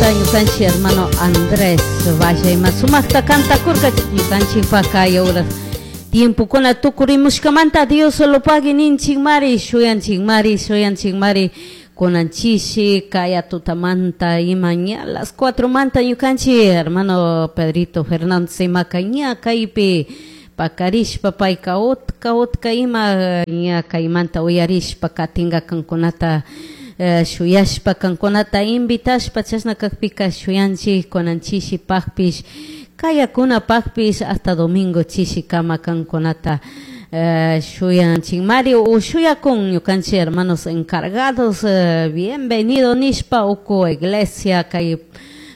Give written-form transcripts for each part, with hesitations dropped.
Tutamanta ñukanchik hermano Andrés Valle ima sumaqta kantakurka ñukanchikpaq kay horas tiempokuna tukurimushkamanta Dios solo pagui ninchikmari shuyanchikmari shuyanchikmari kunan chishi kaya tutamanta ima ña las 4 manta ñukanchik hermano Pedrito Fernández imaka ña kaypi pakarishpa payka utka utka ima ña kaymanta uyarishpa katinka kankunata shuyashpa kankunata invitashpa chashna kakpika shuyanchik kunan chishipakpish kayakunapakpish hasta domingo chishikama kankunata shuyanchikmari o shuyakun ñukanchik hermanos encargados bienvenido nishpa uku iglesia kay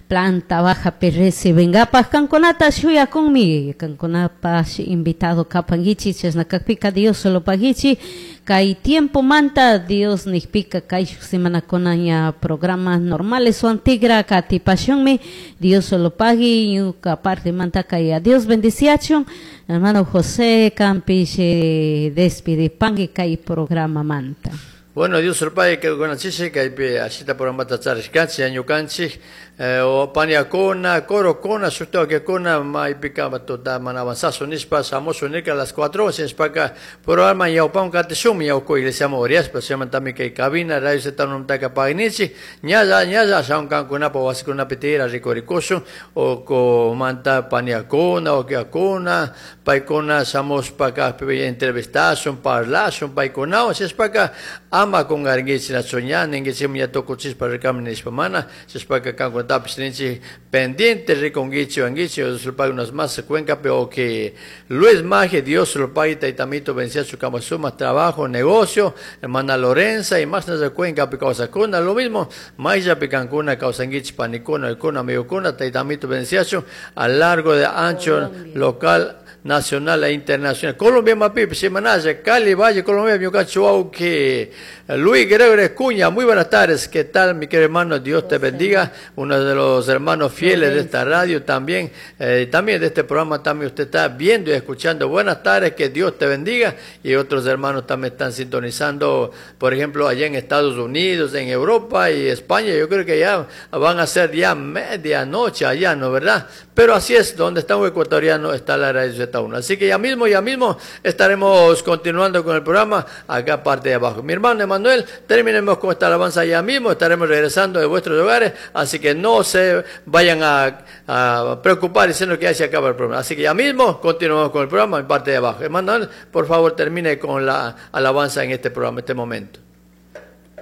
planta bajapi recibenkapak kankunata shuyakunmi kankunapash invitado kapankichik chashna kakpika Dios solo pagichik kay tiempomanta Dios nikpika kay shuk semanakuna ña programas normales wan tigra katipashunmi Dios solo pagui ñuka partemanta kay Dios bendiciachun hermano José kanpish despidipangui kay programamanta. Bueno, Dios solo pague que con chiche kaypi ashita programata charishkanchik ñukanchik o paniakuna, corokuna, shuktawakuna maypika tuta mana avanzazo nishpa shamushu nirka a las 4 nishpaka programa ñawpaman katishunmi ñawku iglesiaman uriashpa chaymantami kay cabina radio Z numtaka pagnichik ñalla ñalla ashawan kankunapa wasikunapi tiyara rikurikushun ukumanta paniakuna, wakiakuna, paykuna shamushpa kajpi entrevistashun, parlashun paykunawan shishpaka ama kunkarinkichik nachu ña ninkichikmi ña tukuchishpa rikami nishpa mana shishpaka kankunatapish ninchik pendiente rikunkichik wankichik Dios lo pague unas más cuencapi o que Luis Maje, Dios lo pague taytamito bendiciachu kama sumak trabajo, negocio, hermana Lorenza y más nasa cuencapi kawsakuna, lo mismo mayllapi kankuna kawsankichik panikuna, uykuna, amigokuna, taytamito bendiciachu a largo de ancho Colombia. Local, nacional e internacional. Colombia Mapipi, Semanaya, Cali, Valle, Colombia, Ñucachuauque, Luis Gregorio Escuña, muy buenas tardes, ¿qué tal mi querido hermano? Dios te bendiga, uno de los hermanos fieles de esta radio también, también de este programa también usted está viendo y escuchando. Buenas tardes, que Dios te bendiga. Y otros hermanos también están sintonizando, por ejemplo, allá en Estados Unidos, en Europa y España. Yo creo que ya van a ser ya medianoche allá, ¿no verdad? Pero así es, donde está un ecuatoriano está la radio Z1. Así que ya mismo estaremos continuando con el programa acá parte de abajo. Mi hermano Emanuel, terminemos con esta alabanza ya mismo, estaremos regresando de vuestros hogares, así que no se vayan a preocupar diciendo que ya se acaba el programa. Así que ya mismo continuamos con el programa en parte de abajo. Emanuel, por favor, termine con la alabanza en este programa, en este momento.